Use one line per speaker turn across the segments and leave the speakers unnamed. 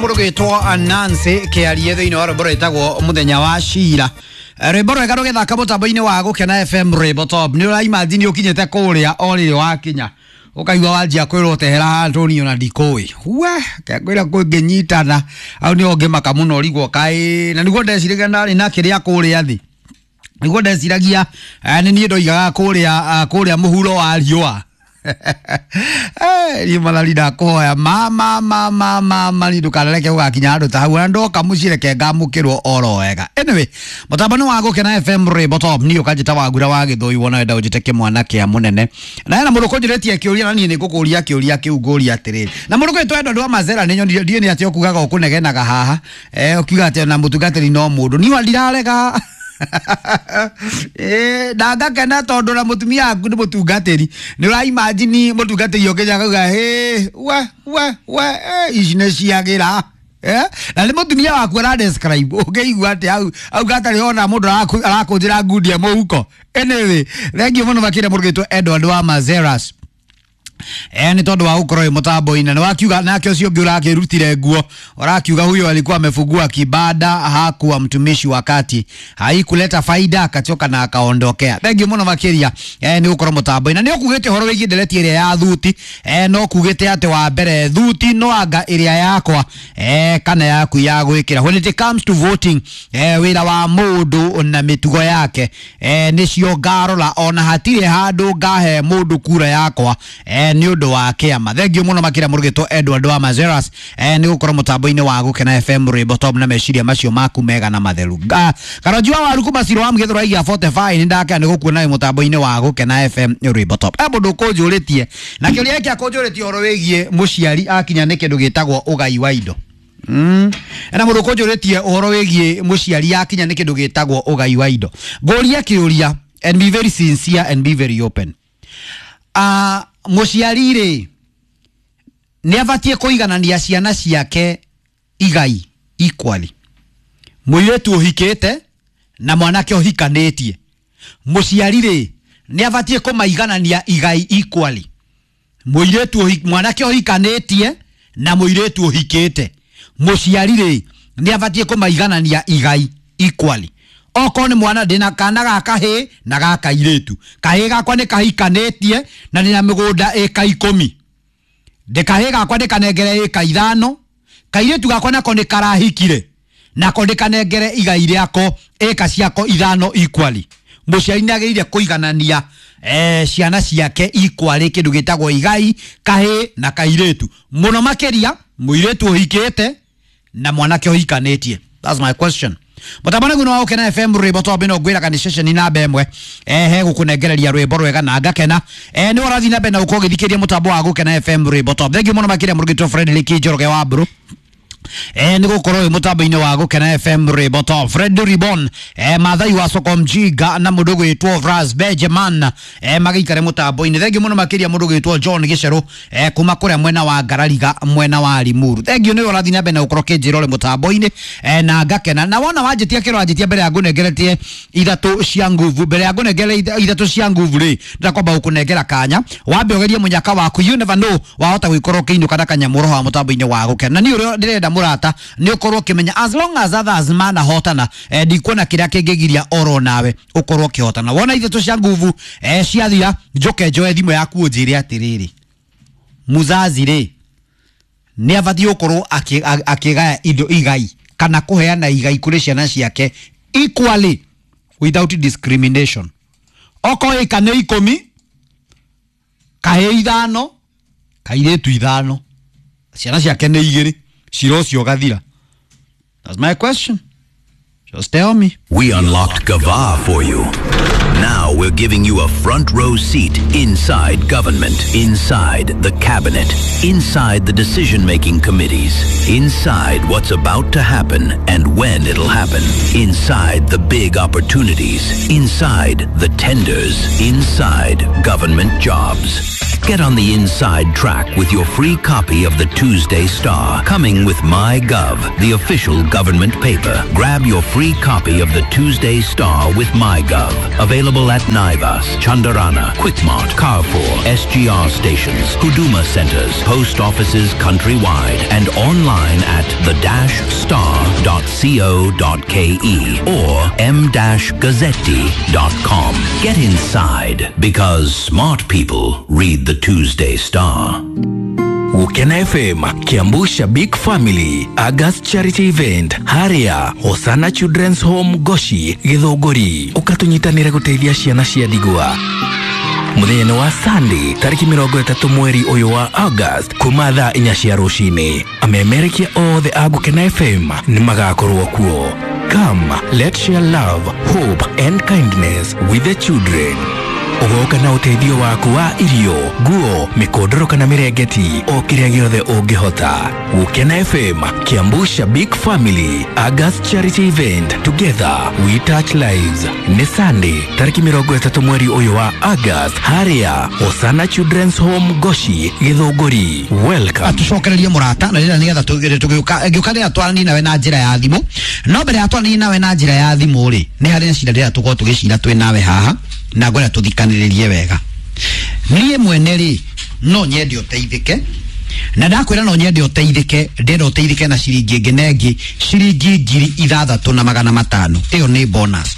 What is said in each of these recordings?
Mũrũgĩtwo Nancy kĩarie thĩinĩ wa rwĩmbo rwĩtagwo mũthenya wa cira. Rwĩmbo rwega rũgĩthaka mũtambo-inĩ wa Gũkena FM rwĩmbo top. Nĩ ũraimagine ũkinyĩte kũrĩa o rĩrĩ wakinya ũkaigua wanjia kwĩrwo tehera handũ niĩ ona ndikũĩ we kengwĩra kũngĩnyitana au nĩho ngĩmaka mũno ũrigwo kaĩ na nĩguo ndeciragia ndarĩ na kĩrĩa kũrĩa thĩ nĩguo ndeciragia nĩ niĩ ndoigaga kũrĩa kũrĩa mũhuro wa riũa. Niĩ mathari ndakũhoya ma ma ma ma ma ma ni ndũkanareke gũgakinya handũ ta hau na ndoka mũciĩ reke ngamũkĩrwo oro wega. Anyway, mũtambo nĩ wa Gũkena FM rwĩmbo top. Niĩ ũkanjĩta Wangura wa Gĩthũi wona wenda ũnjĩte kĩmwana kĩa mũnene na hena mũndũ ũkũnjũrĩtie kĩũria na niĩ nĩ ngũkũria kĩũria kĩu ngũria atĩrĩrĩ na mũndũ ũkwĩtwo Edward wa Mazera nĩ nyonire ndiĩ nĩ atĩ ũkugaga ũkũnegenaga haha ũkiuga atĩ ona mũtungatĩri no mũndũ niĩ ndirarega. Na ngakena tondũ na mũtumia waku nĩ mũtungatĩri nĩ ũraimagine mũtungatĩri ũkĩnya akauga hĩ we we we ici nĩ ciagĩra. Na nĩ mũtumia waku ara describe ũngĩigua atĩ hau auga atarĩ ona mũndũ arakũnjĩra ngundi ya mũhuko. Anyway, thengiũ mũno makĩria mũndũ ũgwĩtwo Edward wa Mazeras nĩ tondũ wa gũkorwo wĩ mũtambo-inĩ na wakiuga nake ũcio ũngĩ ũrakĩrutire nguo ũrakiuga huyo alikuwa amefungua kibanda hakuwa mtumishi wakati haikuleta faida akachoka na akaondokea. Thengiũ mũno makĩria nĩ gũkorwo mũtambo-inĩ na nĩ ũkugĩte ũhoro wĩgiĩ ndereti ĩrĩa ya thuti no kugĩte atĩ wa mbere thuti no anga ĩrĩa yakwa kana yaku ya gwĩkĩra when it comes to voting wĩra wa mũndũ na mĩtugo yake nĩcio ngarora ona hatirĩ handũ ngahe mũndũ kura yakwa nĩ ũndũ wa kĩama. Thengiũ mũno makĩria mũrũgĩtwo Edward wa Mazeras nĩ gũkorwo mũtambo-inĩ wa Gũkena FM rwĩmbo top na meciria macio maku mega na matheru. Karonji wa waru kuma Ciro wa Mũgĩthũra igia 45 nĩ ndakena nĩ gũkuona wĩ mũtambo-inĩ wa Gũkena FM rwĩmbo top. Mũndũ ũkũnjũrĩtie na kĩũria gĩkĩ akũnjũrĩtie ũhoro wĩgiĩ mũciari akinya nĩ kĩndũ gĩtagwo ũgai wa indo. Na mũndũ ũkũnjũrĩtie ũhoro wĩgiĩ mũciari akinya nĩ kĩndũ gĩtagwo ũgai wa indo. Ngũria kĩũria and be very sincere and be very open. Mũciari rĩ nĩ abatiĩ kũiganania ciana ciake igai equally. Mũirĩtu ũhikĩte na mwanake ũhikanĩtie. Mũciari rĩ nĩ abatiĩ kũmaiganania igai equally. Mũirĩtu mwanake ũhikanĩtie na mũirĩtu ũhikĩte. Mũciari rĩ nĩ abatiĩ kũmaiganania igai equally. Okorwo nĩ mwana ndĩna kana ga kahĩĩ na ga kairĩtu. Kahĩĩ gakwa nĩ kahikanĩtie na ndĩna mĩgũnda ĩka 10. Ndĩkahĩĩ gakwa ndĩkanengere ĩka 5. Kairĩtu gakwa nako nĩ karahikire nako ndĩkanengere igai rĩako ĩka ciako 5 equally. Mũciari nĩ agĩrĩire kũiganania ciana ciake equally kĩndũ gĩtagwo igai kahĩĩ na kairĩtu. Mũno makĩria mũirĩtu ũhikĩte na mwanake ũhikanĩtie. That's my question. Mũtambo nĩguo wa Gũkena FM rwĩmbo top ĩno ngwĩraga nĩ ceceni namba ĩmwe he gũkũnengereria rwĩmbo rwega na ngakena nĩ ũrathiĩ na mbere na gũkorwo ũgĩthikĩrĩria mũtambo wa Gũkena FM rwĩmbo top. Thengiũ mũno makĩria mũrũgĩtwo Frederick Njoroge wa Mburu nĩ gũkorwo wĩ mũtambo-inĩ wa Gũkena FM rwĩmbo top. Fred Ribon Mathai wa Soko Mjinga na mũndũ gwĩtwo Vras Benjamin magĩikare mũtambo-inĩ. Thengiũ mũno makĩria mũndũ gwĩtwo John Gĩcerũ kuma kũrĩa mwena wa Ngarariga mwena wa Limuru. Thengiũ nĩ ũrathiĩ na mbere na gũkorwo ũkĩnjĩra ũrĩ mũtambo-inĩ na ngakena na wona wanjĩtia kĩro wanjĩtia mbere ya ngũnengeretie ithatũ cia nguvu mbere ya ngũnengere ithatũ cia nguvu rĩ ndĩrakwamba gũkũnengera kanya wambe ũgerie mũnyaka waku you never know wahota gũikorwo ũkĩinũka na kanyamũ roho wa mũtambo-inĩ wa Gũkena na niĩ ũrĩa ndĩrenda mũrata nĩ ũkorwo ũkĩmenya as long as others manahotana ndikuona kĩrĩa kĩngĩgiria oro nawe ũkorwo ũkĩhotana. Wona ithatũ cia nguvu ciathira njoke njoe thimũ yaku ũnjĩre atĩrĩrĩ muzazi rĩ nĩ abatiĩ gũkorwo akĩgaya indo igai kana kũheana igai kũrĩ ciana ciake equally without discrimination. Okorwo ĩka nĩ 10 kahĩĩ 5 kairĩtu 5 ciana ciake nĩ 2 cira ũcio ũgathira. That's my question. Just tell me.
We unlocked Gava for you. Now we're giving you a front row seat inside government, inside the cabinet, inside the decision-making committees, inside what's about to happen and when it'll happen, inside the big opportunities, inside the tenders, inside government jobs. Get on the inside track with your free copy of the Tuesday Star, coming with MyGov, the official government paper. Grab your free copy of the Tuesday Star with MyGov. Available at Naivas, Chandarana, Quickmart, Carrefour, SGR stations, Huduma centers, post offices countrywide, and online at the-star.co.ke or m-gazzetti.com. Get inside because smart people read the Tuesday Star.
Gukena FM, Kiambu Shabik Family, August Charity Event, Haria, Hosana Children's Home Goshi, Githũngũri. Ũkatunyitanĩre gũteithia ciana cia ndigwa. Mũthenya wa Sunday tarĩki 30 mweri ũyũ wa August kuma thaa 4 cia rũcinĩ. Amemerekia othe a Gukena FM nĩ magakorwo kuo. Come, let's share love, hope and kindness with the children. Ũgoka na ũteithio waku wa irio, nguo, mĩkondoro kana mĩrengeti, o kĩrĩa gĩothe ũngĩhota. Gũkena FM, Kiambu Shabik Family, August Charity Event, Together We Touch Lives. Nĩ Sunday, tarĩki 30 mweri ũyũ wa August, harĩa Hosana Children's Home Goshi, Gĩthũngũri. Welcome.
Atucokererie mũrata na rĩrĩa nĩgetha tũgĩũka ngĩũka rĩrĩa twaranie nawe na njĩra ya thimũ. No mbere ya twaranie nawe na njĩra ya thimũ rĩ, nĩ harĩ na cira rĩrĩa tũkorwo tũgĩcira twĩ nawe haha na ngwenda tũthikanĩrĩrie wega. Niĩ mwene rĩ, no nyende ũteithĩke, na ndakwĩra no nyende ũteithĩke, ndĩrenda ũteithĩke na ciringi ĩngĩ na ĩngĩ, ciringi 6,500. Ĩyo nĩ bonus.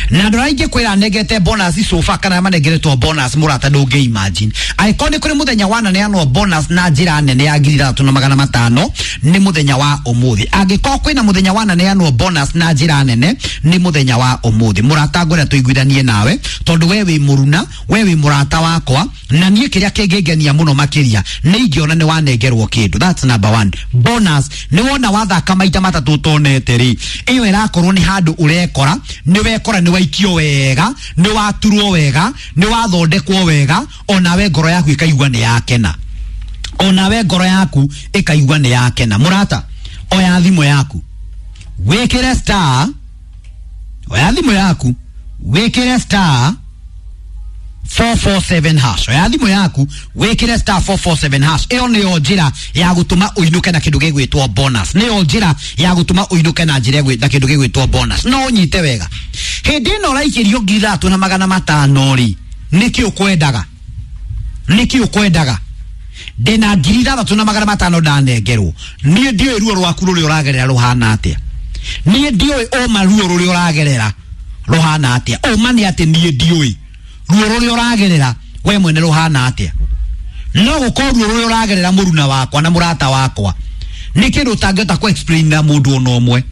Na andũ arĩa ingĩkwĩra nengete bonus sofa kana manengeretwo bonus mũrata ndũngĩ imagine. Angĩkorwo nĩ kũrĩ mũthenya wananeanwo bonus na njĩra nene ya 6,500 nĩ mũthenya wa ũmũthĩ. Angĩkorwo kwĩna mũthenya wananeanwo bonus na njĩra nene nĩ mũthenya wa ũmũthĩ. Mũrata ngwenda tũiguithanie nawe tondũ we wĩ mũruna, we wĩ mũrata wakwa, na niĩ kĩrĩa kĩngĩngenia mũno makĩria nĩ ingĩona nĩ wanengerwo kĩndũ. That's number one. Bonus nĩ wona wathaka maita matatũ ũtonete rĩ, ĩyo ĩrakorwo nĩ handũ ũrekora, nĩ wekora nĩ waikio wega, nĩ waturwo wega, nĩ wathondekwo wega, onawe ngoro yaku ĩkaigua nĩ yakena. Onawe ngoro yaku ĩkaigua nĩ yakena. Mũrata, oya thimũ yaku wĩkĩre star, oya thimũ yaku wĩkĩre star 447 hash. Oya thimũ yaku wĩkĩre star 447 hash. Ĩyo nĩyo njĩra ya gũtũma ũinũke na kĩndũ gĩgwĩtwo bonus. Nĩyo njĩra ya gũtũma ũinũke na njĩra na kĩndũ gĩgwĩtwo bonus. No ũnyite wega. Hĩndĩ ĩno ũraikĩrio 6,500 rĩ, nĩkĩ ũkwendaga? Nĩkĩ ũkwendaga? Ndĩna 6,500 ndanengerwo. Niĩ ndiũĩ ruo rwaku rũrĩa ũragerera rũhana atĩa. Niĩ ndiũĩ ũma ruo rũrĩa ũragerera rũhana atĩa. Ũma nĩ atĩ niĩ ndiũĩ ruo rũrĩa ũragerera we mwene rũhana atĩa. No gũkorwo ruo rũrĩa ũragerera mũruna wakwa na mũrata wakwa nĩ kĩndũ ũtangĩhota kũ explain na mũndũ ona ũmwe.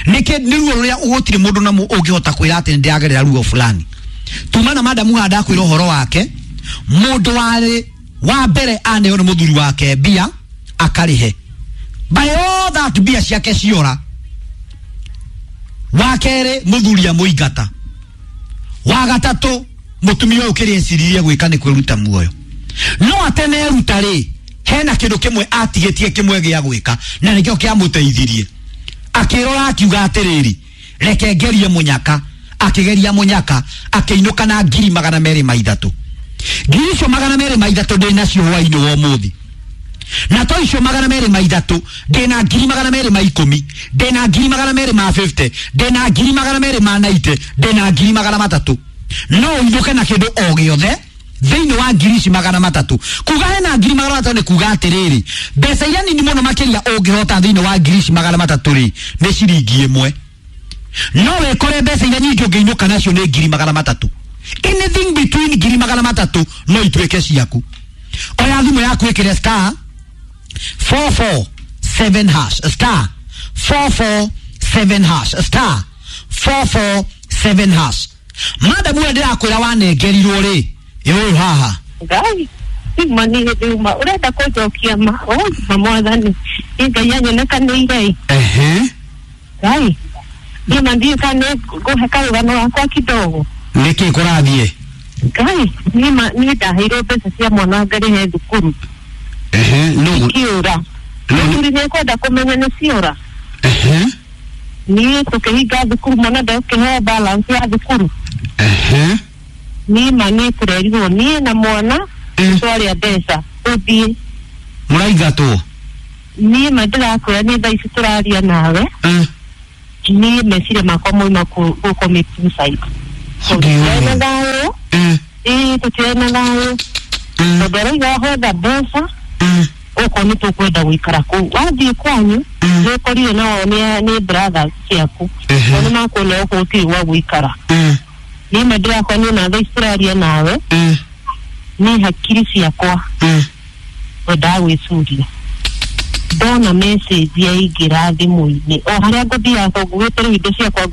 Nĩ ruo rũrĩa gũtirĩ mũndũ na ũngĩhota kwĩra atĩ nĩndĩragerera ruo fulani. Tuma na madamu haha ndakwĩra ũhoro wake, mũndũ warĩ wa mbere aneo nĩ mũthuri wake mbia akarĩhe. By all that mbia ciake ciora. Wa kerĩ mũthuri amũingata. Wa gatatũ mũtumia ũyũ kĩrĩa eciririe gwĩka nĩ kwĩruta muoyo. No ateneruta rĩ, hena kĩndũ kĩmwe atigĩtie kĩmwe gĩa gwĩka na nĩkĩo kĩamũteithirie. Akĩrora akiuga atĩrĩrĩ, reke ngerie mũnyaka. Akĩgeria mũnyaka akĩinũka na 203,000. 203,000 ndĩ nacio hwainĩ wa ũmũthĩ. Na to icio 203 ndĩ na 210,000, ndĩ na 250,000, ndĩ na 290,000, ndĩ na 300,000. No ũinũke na kĩndũ o gĩothe thĩinĩ wa 300,000. Kuga hena 300,000 nĩ kuga atĩrĩrĩ, mbeca iria nini mũno makĩria ũngĩhota thĩinĩ wa 300,000 rĩ, nĩ ciringi 1. No wĩkore mbeca iria nyingĩ ũngĩinũka nacio nĩ 300,000. Anything between 300,000 no ituĩke ciaku. Oya thimũ yaku ĩkĩre star 447 hash, star 447 hash, star 447 hash. Madamu ũrĩa ndĩrakwĩra wanengerirwo rĩ, ĩ ũyũ haha.
Ngai, ma nĩ hĩndĩ uma ũrenda kũnjokia ma ma mwathani nĩ Ngai anyonekanĩire.
Ehe.
Ngai, niĩ ma ndiũĩ kana nĩ ngũhe karũgano gakwa kidogo.
Nĩkĩ kũrathiĩ?
Ngai, niĩ ma niĩ ndaheirwo mbeca cia mwana ngarĩhe thukuru.
Ehe, no.
Ikiũra. Mũthuri nĩ ekwenda kũmenya nĩ ciora.
Ehe.
Niĩ tũkĩhinga thukuru mwana ndekũheo balance ya thukuru.
Ehe.
Niĩ ma nĩ tũrerirwo niĩ na mwana Twarĩa mbeca ũthiĩ.
Mũraingatwo?
Niĩ ma ndĩrakwĩra nĩ thaa ici tũraria nawe, niĩ meciria makwa moima kũ commit suicide. Tũtirĩ na thayũ. Ĩĩ, tũtirĩ na thayũ tondũ arauga hotha mbeca okorwo nĩ tũkwenda gũikara kũu. Wathiĩ kwanyu nĩ ũkorire nao nĩ brothers ciaku, nao nĩ makuona okorwo gũtirĩ gwa gũikara. Niĩ ma ndĩrakwa niĩ na thaa ici tũraria nawe, niĩ hakiri ciakwa wendaga gwĩcuria ndona message yaingĩra thimũ-inĩ o harĩa ngũthiaga tondũ ngugĩte rĩu indo ciakwa.